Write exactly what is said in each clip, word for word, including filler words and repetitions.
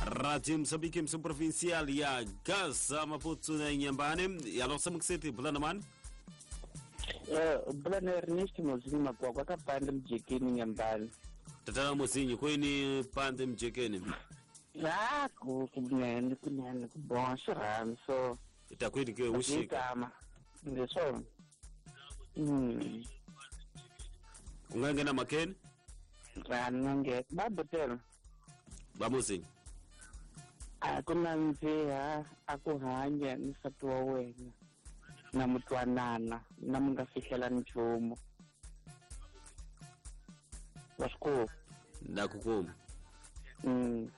Radio Moçambique, emissão provincial ya Gaza Maputo na Inhambane. E a nossa Muxete, Bulana mani? Eh, Bulana Ernesto Mozinho Makwakwa ka pande mjekeni Inhambane. Tatana Mozinho, kweni pande mjekeni? Ah, ku kunene kunene ku bon xirhami so. Itakwini ke ushika. Ngesona. Mm. Ungangena makeni? Ngange babotela. Bamozinho. A ku nandziha a ku hanya ni nsati wa wena na mutwanana na mi nga fihlela nchumu. Wa swi kuma? Na ku kuma. Mm.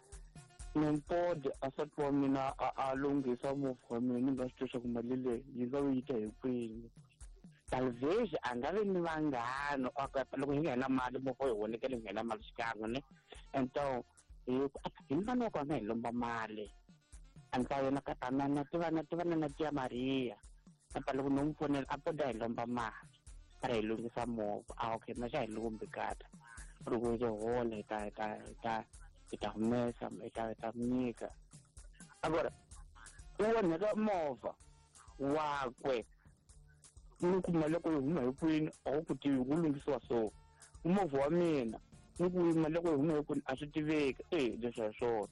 Nimpodi a nsati wa mina a a lunghisa movha wa mina ni nga swi tivi swa ku mali leyi yi nga yi ta hi kwini. Talvez a nga vi ni vanghana loko hi nga na mali movha hi vonekele hi nga na mali xikan'we ne. Então hi mfana wa kona hi lomba mali a ni ta yena ka ta na tiva na tiva na tia Maria apa loko no n'wi fonela a poda hi lomba mali a ri hi lunghisa movha a okay na xa hi lombi kata loko hi hola hi ta hi ta hi ta hi ta humesa hi ta hi ta nyika agora u onheka movha wakwe ni kuma loko yi huma hi kwini a wu ku tivi ku lunghisiwa so movha wa mina ni ku mali loko yi huma hi kwini a swi tiveki e leswi hi swona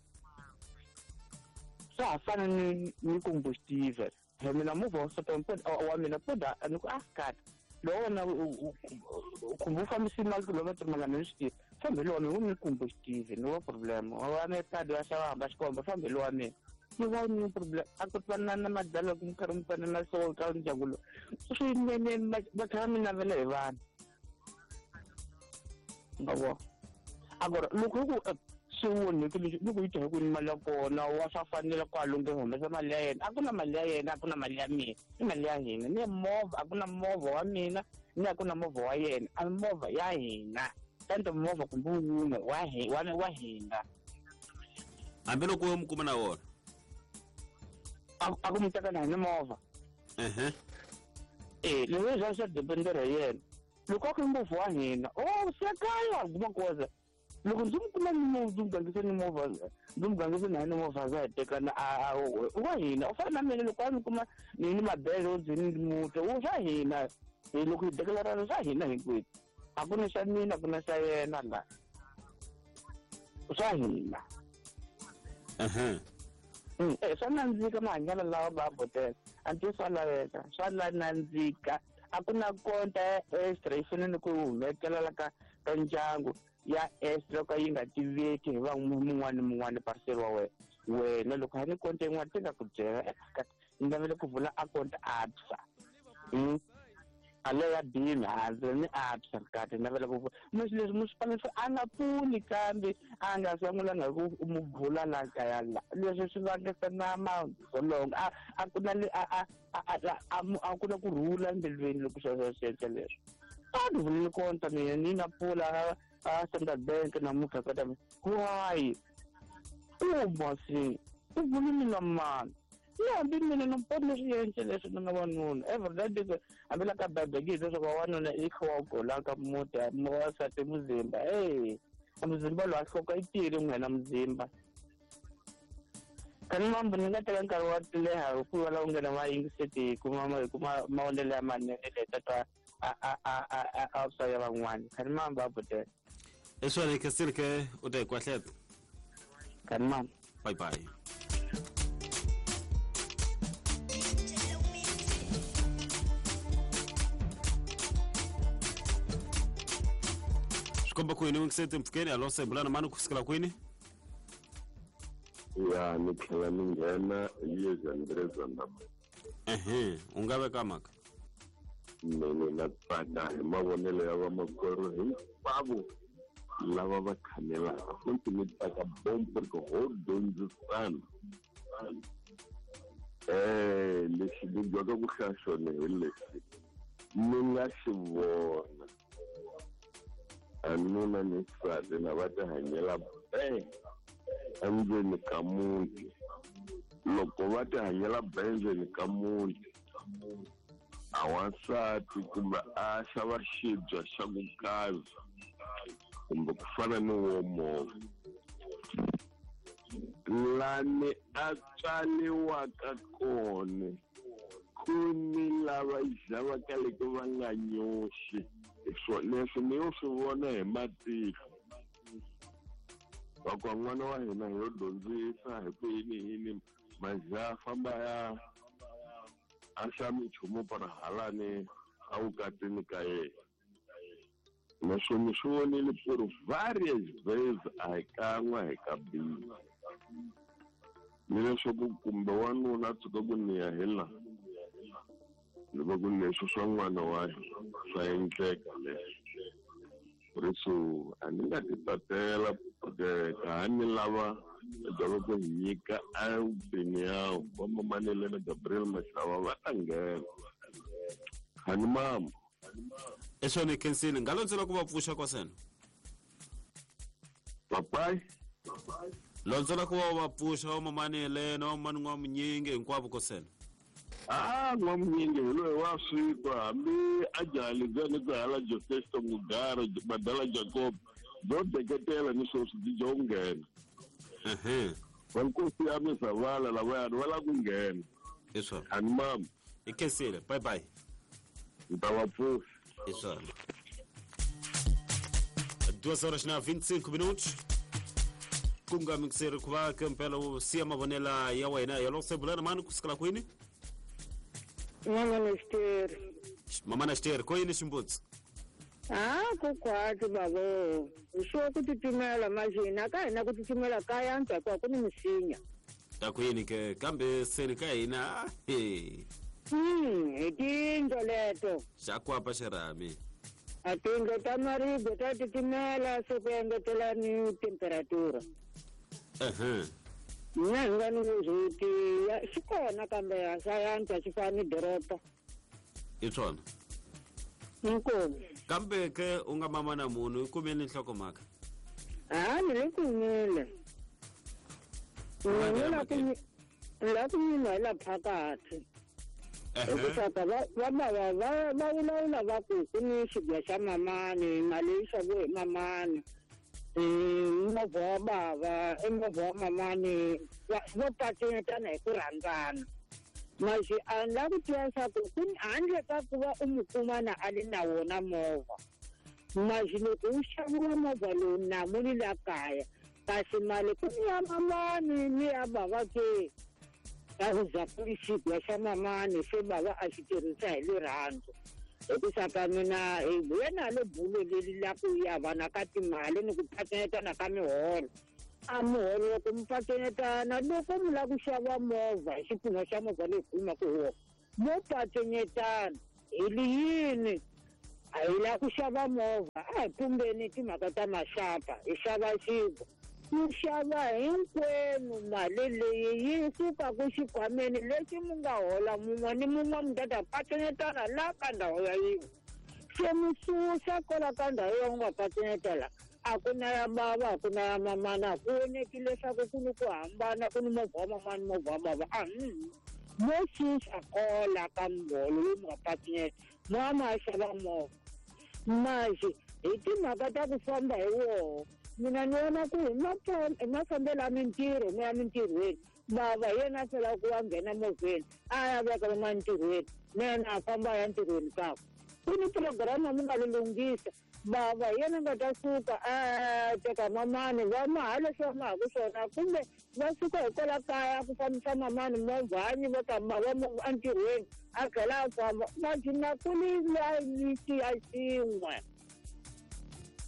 swa ha fana ni ni combustive he mina movha wa nsati wa mina poda ni ku a kata lowu wona kumbe u fambisi mali kilometer mangani ni swi tivi fambi lowa mina wu ni combustive ni wa problem wa me padi wa xava hamba xikomba fambi lowa mina ni va ni problem a ku twana na madala ku mi karhi mi fana na so ka ndyangu lowu swinene va tlhela mi navela hi vanhu ngavo agora loko ku swi onheke leswi loko yi ta hi ku ni mali ya kona wa swa fanela ku a lunghe humesa mali ya yena a ku na mali ya yena a ku na mali ya mina i mali ya hina ni movha a ku na movha wa mina ni a ku na movha wa yena a movha ya hina tanto movha kumbe wun'we wa wa wa hina hambiloko u mi kuma na wona a ku mi teka na hi movha ehe eh leswi swa swa dependera hi yena loko a ku movha wa hina oh se kaya kuma koza loko ndzi mi kuma ni movha ndzi mi gangise ni movha ndzi mi gangise na ni movha za hi tekana a wa hina u fana na mina loko a mi kuma ni ni mabele ndzi ni muto u swa hina hi loko hi declarana swa hina hinkwenu a ku na xa mina a ku na xa yena la swa hina ehe eh swa nandzika mahanyelo lawa va botela a nti swa laveka swa la nandzika a ku na konta ya extra yi fanele ku humekela la ka ka ndyangu ya extra ka yi nga tiveki hi va mun'wana ni mun'wana parcel wa wena wena loko ha ni konta yin'wana ti nga ku byela ni navele ku vula akonta A B S A a leyo ya bimi handle ni A B S A kati navela ku leswi leswi musipala a nga pfuni kambe a nga sungulanga ku mu vula la kaya la leswi swi vangisa na madzolonga a a ku na a a a a ku na ku rhula embilwini loko sweswo swi endla leswi a ni vulile konta mina ni na pfula a Standard Bank namuntlha ka ta why u si u vuli mina mani ni hambi mina ni poni leswi endle leswi ni nga wanuna every day hambi la ka bebekile leswaku wanuna i kha wa gola ka muti wansati muzimba e muzimba lowu a hloka i tiyile n'wina muzimba kani mambo ni nga teka nkarhi wa leha hikuva la u nghena ma yingiseti hi kuma hi kuma mavonelo ya manene leta a a a a a swa ya van'wana kani mambo a botela eswale ke u ta hi kwahleta kani mambo bye bye. Komba kwini wingisete mpfukeni alose mbulana mani kufikela kwini ya ni tlhela ni nghena yezandreza ndama ehe u nga veka mhaka mina na tsaka hi mavonelo ya vamakwerhu hinkwavo lava va khanelaka futhi ni tsaka bombo ri ho dyondzisana eh lexi ni dyaka ku hlaya xona hi lexi ni nga xi vona anuna ni nsati na va tihanyela be endzeni ka muti loko va tihanyela be endzeni ka muti a wansati kumbe a xava xibya xa ku kaza kumbe ku fana ni wo movha ni Lani a tswariwaka kona ku ni lava xavaka loko va nga nyoxi. Leswi ni yo swi vona hi matihlo. Va ku n'wana wa hina hi yo dyondzisa hi ku yini yini majaha famba ya a xa minchumu para halani a vukatini ka yena. Naswona swi vonile ku ri various ways a hi kan'we hi kabili. Ni leswaku kumbe wanuna a tshuka ku ni ya hi laha ni va ku leswi swa n'wana wa hina swa endleka leswi. Por isso a ni nga ti tatela porque ka ha ni lava byalwa ku hi nyika a opinião va mamanele na Gabriel Mashava va ta nghena. Hani mama. Eswona khensile nga londzela ku va pfuxa kwasena. Papai londzela ku va va pfuxa va mamanele na mamani n'wa munyingi hinkwavo kosena. Ah, n'wa munyingi hi loyi wa switwa hambi a jahalidzeni ni ku hala Joseph Mugara Badala Jacob byo deketela ni sweswi byi byo nghena. Ehe. Vankosi ya Misavala lavayani va lava ku nghena. Eswona. Hani mama. I khensile bye bye. Ni ta va pfuxa. Eswona. Duas horas na vinte e cinco minutos. Ku nga mixeri ku va kempela u siya mavonela ya wena ya loko se bulana mani ku sukela kwini? Mama Nesteri. Mama Nesteri, ko yini ximbutsi? Ah, ku kwati babo. Swo ku titimela majina ka hina ku titimela ka yantswa hikuva ku ni misinya. Ta ku yini ke kambe seni ka hina he. Hmm, hi tindlu leto. Xa kwapa xirhami. A tindlu ta maribye ta titimela se ku engetela ni temperatura. Ehe. Mina hi nga ni vuzwiti xi kona kambe a swa yantswa xi fana ni doroba. I swona. Inkomu. Kambe ke u nga mama na munhu i kumile nhlokomhaka? Ah, ni le kumile. Ni la ku la ku nyima hi la phakathi. Hikuva va va va va va vulavula va ku ku ni xibya xa mamani mali yi xaviwe hi mamani. Movha wa bava i movha wa mamani vo pacenyetana hi ku rhandzana. Maxi a ni lava ku tiva leswaku ku handle ka ku va u n'wi kuma na a ri na wona movha. Maxi loko wu xaviwa movha lowu namu ni la kaya kasi mali ku ni ya mamani ni ya bava ke. Ka ku za ku ri xibya xa mamani se bava a xi tirhisa hi rirhandzu. Hikusa ka mina hi vuye na le bulo leri la ku ya vana ka timali ni ku pacenyetana ka miholo. A muholo loko mi pacenyetana loko mi lava ku xava movha hi xipfuno xa movha leyi kumaka hi wona mo pacenyetana hi li yini a hi lava ku xava movha a hi pumbeni timhaka ta maxapa hi xava xibya ku xava hinkwenu mali leyi yi suka ku xikhwameni lexi mi nga hola mun'we ni mun'we mi ta ta pacenyetana la ka ndhawu ya yin'we se mi susa kwala ka ndhawu ya u nga pacenyetela a ku na ya bava a ku na ya mamana a ku voneki leswaku ku ni ku hambana ku ni movha wa mamani movha wa bava a mo susa kola ka muholo lowu mi nga pacenyeta mo ma xava movha maxi hi timhaka ta ku famba hi woho mina ni vona ku hi mafambelo ya mintirho mi ya mintirhweni bava hi yena a felaka ku va nghena movheni a ya veka va ntirhweni na yena a famba a ya ntirhweni kakwe ku ni programa mi nga li lunghisa bava hi yena nga ta suka a teka mamani va maha leswi va mahaku swona kumbe va suka hi kwala kaya ku fambisa mamani movhani va ta va entirhweni a tlhela a famba majina ku ni layiti ya xin'we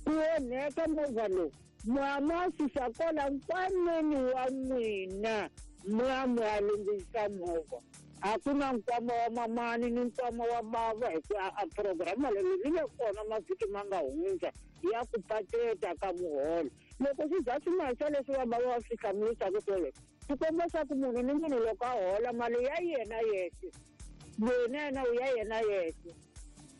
ku onheka movha lowu mwa susa kwala nkwameni wa n'wina mwa ya lunghisa movha a ku na nkwama wa mamani ni nkwama wa bava hikuva a programa leyi yi le kona mavhiki ma nga hundza ya ku pateta ka muholo loko swi za swi maxa leswi va bava va swi hlamurisaka swoleswo swi komba swa ku munhu ni munhu loko a hola mali ya yena yexe loyi na yena u ya yena yexe.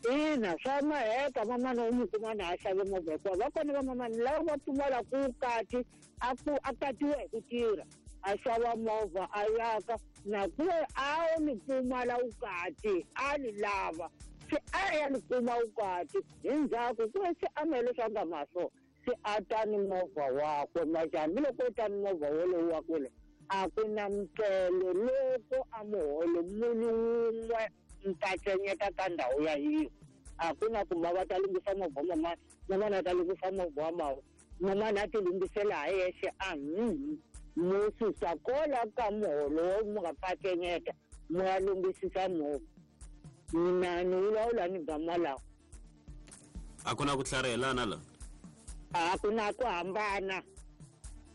Ina swa maheka mamani u n'wi kuma na a xave movha hikuva va kona va mamani lava va pfumala ku kati a ku a katiwa hi ku tirha a xava movha a yaka na ku a ni pfumala vukati a ni lava se a ya ni kuma vukati hi ndzhaku ku se a mele swa nga mahlo se a ta ni movha wakwe maxi hambiloko u ta ni movha wolowo wakwe lowu A ku na mukelo loko a muholo munhu wun'we mpatsenyeta ka ndhawu ya yiwo. A ku na ku bava ta lunghisa movha mamani, mamani a ta lunghisa movha wa bava, mamani a ti lunghisela ha yexe a mhm. Mu susa kola ka muholo wo mu nga patsenyeta mu ya lunghisisa movha. Mina ni vulavula ni gama lawa. A ku na ku tlharihelana la? A ku na ku hambana.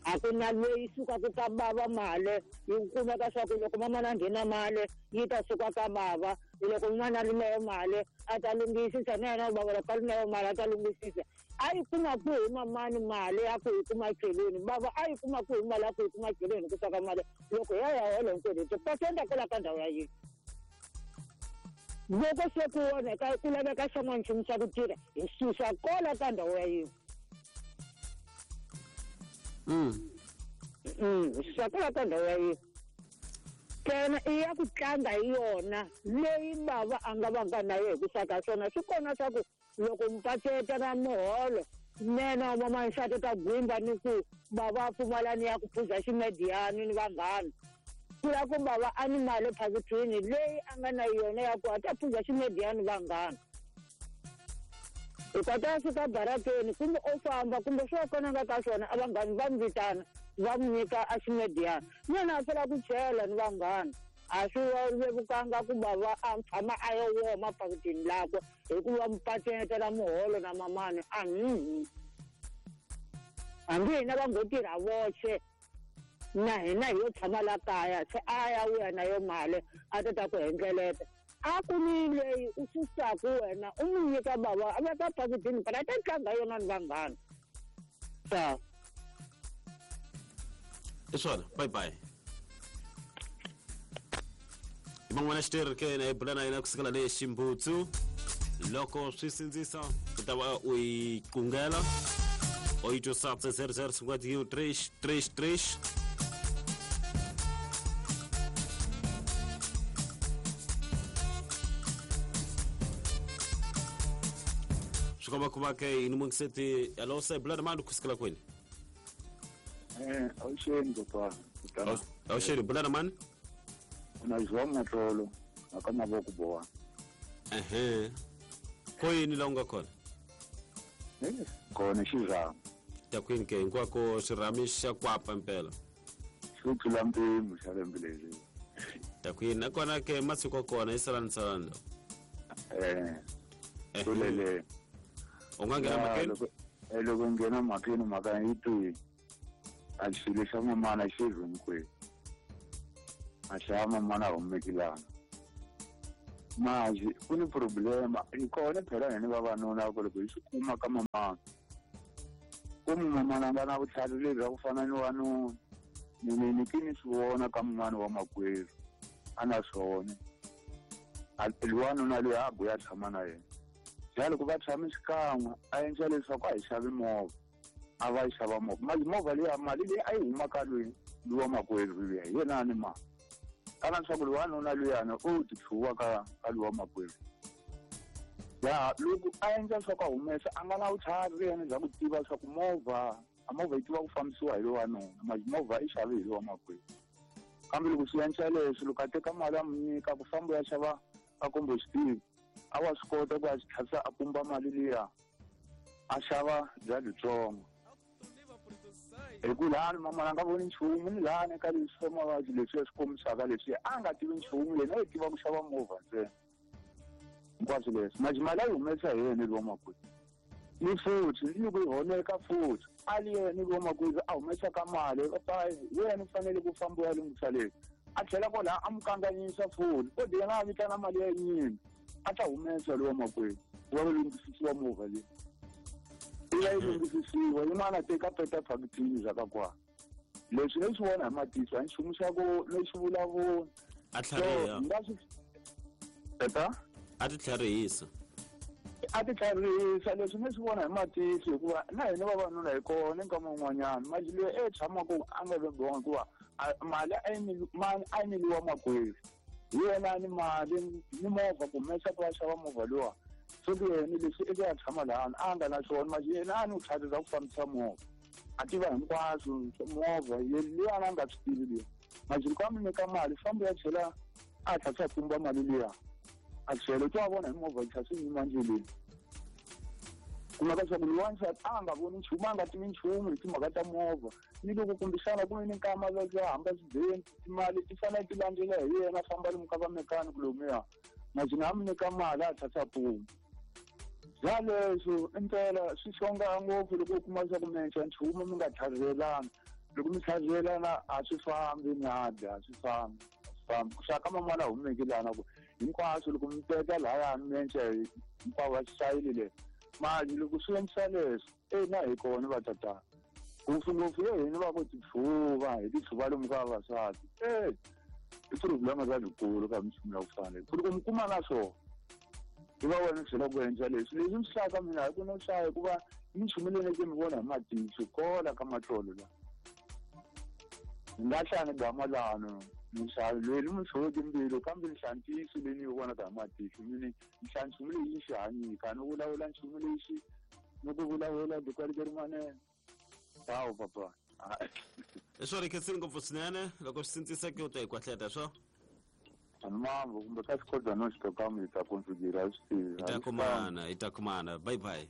A ku na leyi sukaka ka bava mali yi kumeka swa ku loko mamana a nghena mali yi ta suka ka bava, loko mamana a ri na yo mali a ta lunghisisa na yena bava loko a ri na yo mali a ta lunghisisa. A yi kuma kwihi mamani mali ya ku yi kuma cheleni, bava a yi kuma kwihi mali ya ku yi kuma cheleni ku saka mali loko ya ya hola hinkwenu ti-percent kwala ka ndhawu ya yini. Loko se ku onheka ku laveka xin'wana nchumu xa ku tirha hi susa kola ka ndhawu ya yini. Mm. Mm, hi susa kola ka ndhawu ya yini. Kena i ya ku tlanga hi yona leyi bava a nga va nga na yo hi ku saka swona swi kona swa ku loko mpaceta na muholo nene wa mamansati ta gwimba ni ku bava a pfumala ni ya ku phuza ximediyani ni vanghana. Ku ya ku bava a ni mali ephakithini leyi a nga na yona ya ku a ta phuza ximediyani vanghana. Hi kota fika barakeni kumbe o famba kumbe swo kona nga ka swona a vanghani va n'wi vitana va n'wi nyika a ximediyani. Yena a fela ku chela ni vanghana. A swi vevukanga ku bava a tshama a yo woma phakithini lakwe hikuva mpatsetela muholo na mamani a mhm. Hambi hina va ngo tirha voxe na hina hi yo tshama la kaya se a ya vuya na yo mali a ta ta ku hendleleta. A ku ni leyi u susaku wena u n'wi nyika bava a veka phakithini phela a ta tlanga yona ni vanghana. Sa I swona, bye bye. I van'wana xitirhi ke yena hi bula na yena kusukela le Ximbutsu. Loko swi sindzisa u ta va u yi qungela oito sete zero zero cinquenta e um três três três. Swi komba ku va ke yini mungiseti alo se bula na mani kusukela kwini? Eh, awuxeni papa. Awuxeni bula na mani? Na João Matlolo, aka mavoko boa. Ehe. Ko yini la u nga kona? Eh, kona xirhami. Ta kwini ke hinkwako xirhami xa kwapa mpela. Xi tlula mpimo xa lembe leri. Ta kwini nakona ke masiku ya kona i salani salani lawa. Eh. Kulele. U nga nghena mhakeni? Eh, loko nghena mhakeni mhaka yi twi. A xilo xa mamana xi hinkwenu. A xa mamana humekilana. Manje ku ni problema hi kona phela hina vavanuna ku loko hi swi kuma ka mamana. Ku mamana a nga na vutlhari lebyi bya ku fana ni wanuna. Mina ni ki ni swi vona ka mun'wana wa makwerhu a na swona. A wanuna loyi a buya tshama na yena. Ja loko va tshame xikan'we a endla leswaku a hi xavi movha. A va yi xava movha. Mali movha liya mali leyi a yi huma ka loyi loyi wa makwerhu luya hi yena a ni mali. Kana leswaku loyi wanuna luyana u ti tlhuwa ka ka loyi wa makwerhu. Ya loko a endla leswaku a humesa a nga na vutlhari yena bya ku tiva leswaku movha a movha yi tiva ku fambisiwa hi loyi wanuna mali movha i xave hi loyi wa makwerhu. Kambe loko swi endla leswi loko a teka mali a n'wi nyika ku famba ya xava a combustible a wa swi kota ku a swi tlhasa a pumba mali liya a xava bya byitsongo. Hi ku lani mamana a nga voni nchumu ni lani ka leswi swa mavabyi leswi ya swi kombisaka leswi a nga tivi nchumu yena yi tiva ku xava movha ntsena hinkwaswo leswi mali mali a yi humesa hi yena lowa makwerhu. Ni futhi ni loko yi honeka futhi a li yena lowa makwerhu a humesaka mali yena u fanele ku famba u ya lunghisa leswi a tlhela kwalaho a n'wi kanganyisa futhi kodi yena a vitana mali ya yinyini a ta humesa lowa makwerhu ku va ku lunghisisiwa movha leyi. I ya yi lunghisisiwa yin'wana a teka peta phakithini bya ka kwala. Leswi ni swi vona hi matihlo a nchumu xa ku ni swi vulavula. A tlhariha. Nga swi teta? A ti tlharihisa. A ti tlharihisa leswi ni swi vona hi matihlo hikuva na hina vavanuna hi kona nkama wun'wanyana mali leyi e tshamaka a nga vebiwanga hikuva mali a yi a yi nyikiwa makwerhu. Hi yena a ni mali ni movha ku humesa ku va xava movha luwa. Se ku yena leswi i ku ya tshama lahani a nga na swona mali yena a ni vutlhari bya ku fambisa movha. A tiva hinkwaswo movha liya a nga swi tivi liya. Manje loko a mi nyika mali fambo ya chela a tlhela a pumba mali liya. A tlhela u ta vona hi movha yi tlhela swi yima endleleni. Kumeka leswaku loyi a nga voni nchumu a nga tivi nchumu hi timhaka ta movha ni loko kumbexana ku ve ni nkama va hamba swibeni timali ti fanele ti landzela hi yena a famba lomu ka va mechanic lomuya majina a mi nyika mali a tlhela a pumba. Bya leswo impela swi xonga ngopfu loko u kuma leswaku mi endla nchumu mi nga tlhavelana loko mi tlhavelana a swi fambi nyadi a swi fambi a swi fambi ku xaka man'wana humeki lana ku hinkwaswo loko mi teka lahaya mi endla hinkwavo va xayile le mali loko swi endlisa leswo e na hi kona va tatana ngopfungopfu ye hina va ku titlhuva hi titlhuva lomu ka vavasati e i problema za likulu ka minchumu ya ku fana ku loko mi kuma na swona hi va wena tlhela ku endla leswi leswi mi hlaya ka mina hi ku no hlaya hikuva minchumu leyi ni ke mi vona hi matihlo kola ka matlolo la ni nga hlaya ni gama lano ni hlaya leyi ni mi tlhoveke mbilu kambe ni hlaya ntiyiso leyi ni yi vonaka hi matihlo ni ni hlaya nchumu leyi yi xi hanyika ni vulavula nchumu lexi ni ku vulavula dikwalite rin'wanene tawu papa i swo ri khensile ngopfu swinene loko swi sindziseke u ta hi kwahleta swo mambo kumbe ka xikodwa no xitokamu hi ta configure a swi tivi hi ta kumana hi ta kumana bye bye.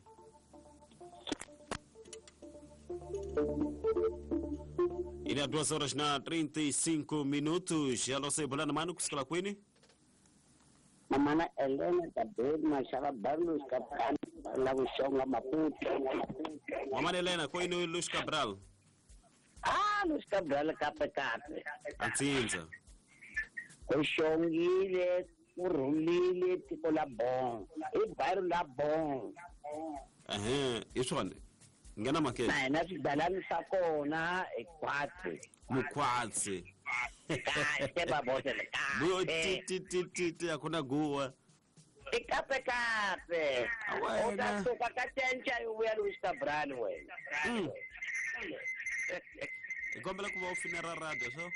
E na duas horas na trinta e cinco minutos. Alô, sei bolana mano kusukela kwini? Mamana Elena Tabel Mashaba Barlos Cabral la Bushonga Maputo. Mamana Elena kwini Luis Cabral? Ah, Luis Cabral kape kape. Atsinza. Kushongile, kurhulile tiko la bon. I bairro la bon. Ehhe, iswona. Ngena makete. Na na swigalani swa kona i khwatsi. Mukhwatsi. Kahle babotele Buyo kahle. ti ti ti ti akuna guwa. I kape kape. U ta suka ka cenca yi vuya Luis Cabral wena. Mm. Hi kombela ku va u finera radio so.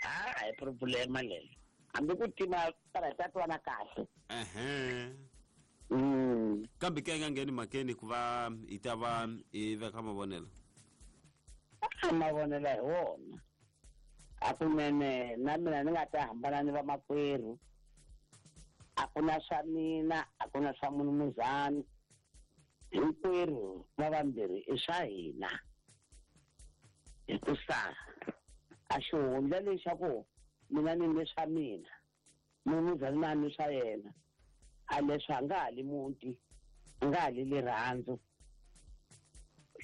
Ah, hi problema leyi. Hambi ku tima para ta twana kahle. Ehhe. Mm. Kambe ke nga ngheni makeni ku va hi ta va hi veka mavonelo. A mavonelo hi wona. A kunene na mina ni nga ta hambana ni vamakwerhu. A ku na swa mina, a ku na swa munumuzani. Hinkwerhu va vambirhi i swa hina. Hikusa a xihundla lexaku mina ni ni swa mina, munumuzani na ni swa yena. A leswi a nga ha li muti, a nga ha li rirhandzu.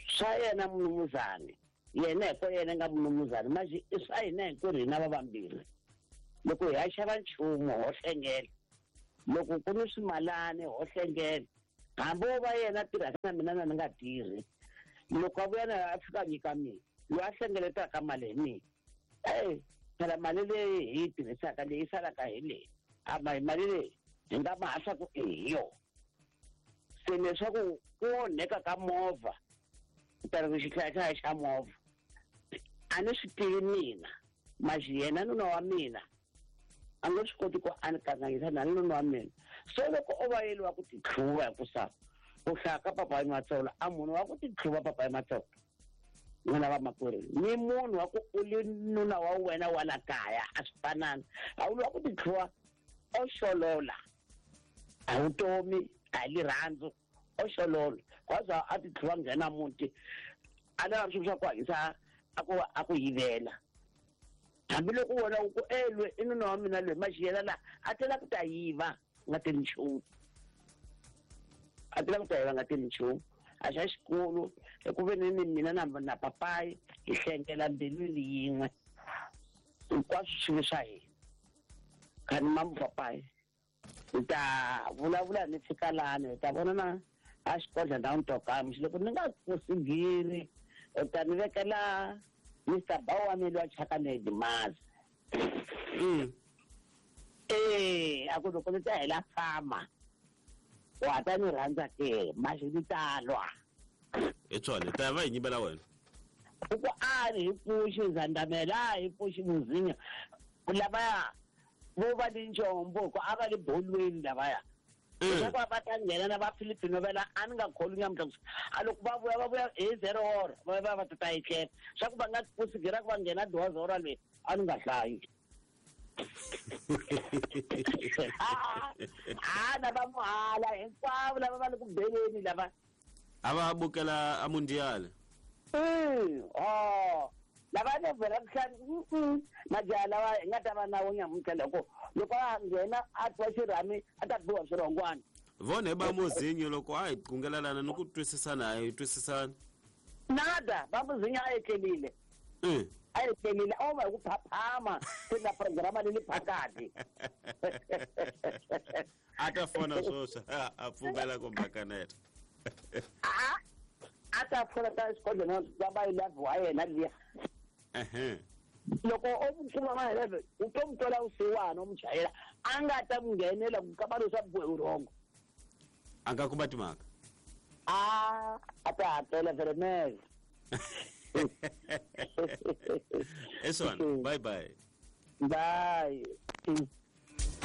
Swa yena munumuzani, yena hi ko yena nga munumuzani, manje i swa hina hinkwerhu hina va vambirhi. Loko hi ya xava nchumu ho hlengela, loko ku ni swimalani ho hlengela, hambi wo va yena a tirhaka na mina na ni nga tirhi, loko a vuya na a fika a nyika mina, loyi a hlengeletaka mali hi mina. Ey, phela mali leyi hi yi tirhisaka leyi salaka hi leyi, a mali leyi hi nga ma hasa ku i hi yona. Se leswaku ku onheka ka movha, ta ri ku xihlayahlaya xa movha, a ni swi tivi mina, masi yena nuna wa mina a nga swi koti ku a ni kanganyisa na nuna wa mina. So loko o va yeliwa ku titlhuva hikusa ku hlaya ka papayi Matsolo, a munhu wa ku titlhuva papayi Matsolo n'wina vamakwerhu ni munhu wa ku u li nuna wa wena wa la kaya a swi fanani. A wu wa ku titlhuva o xolola a vutomi a hi rirhandzu o xolola kwaza a titlhuva nghena muti a lava swilo swa ku hanyisa a ku a ku yivela. Hambiloko wena u ku elwe i nuna wa mina loyi maxiyela la a tela ku ta yiva nga teli nchumu, a tela ku ta yiva nga teli nchumu. A xa xikulu hi ku ve ni ni mina na na papayi hi hlengela mbilwini yin'we hinkwaswo swi swa hina. Khani mamu papayi hi ta vulavula ni fika lani hi ta vona na a xikodla na ntokamu loko ni nga kusigiri u ta ni vekela Mister Bawa mi loyi a chaka ni Dimazi. Mm. Eh, a ku loko ni ta hela fama wa ta ni rhandza ke maxi ni ta lwa. Hi swona hi ta va hi nyimela wena. U ku a hi pfuxi Zandamela, hi pfuxi Muzinya lavaya vo va ni njombo ku a va le bolweni lavaya. Leswaku va ta nghena na va Filipino vela a ni nga kholwi nyamuntlha a loko va vuya va vuya hi zero hora va va va ta etlela swa ku va nga kusikira ku va nghena doze hora leyi a ni nga hlayi. A na va muhala hinkwavo lava va le ku beleni lava a va bukela a mundial. Oh lava ne vhela kuhlani majaha lawa hi nga ta va na wo nyamuntlha loko loko a nghena a twa xirhami a ta biwa swirhongwana. Vona ba muzinyo loko a hi qungelelana ni ku twisisana a hi twisisana. Nada ba muzinyo a etlelile. A etlelile o va hi ku phaphama se na programa leyi phakathi. A ta fona swoswi a pfumela ku makaneta. A a ta fona ta xikodlhela va ba yi love wa yena liya. Ehe. Loko o mu kuma ma eleven u to mu twela vusiwana u mu chayela a nga ta mu nghenela ku kamba leswaku bohe vurhongo. A nga kuma timhaka. A a ta hakela veremele. Eswana, bye bye. Bye.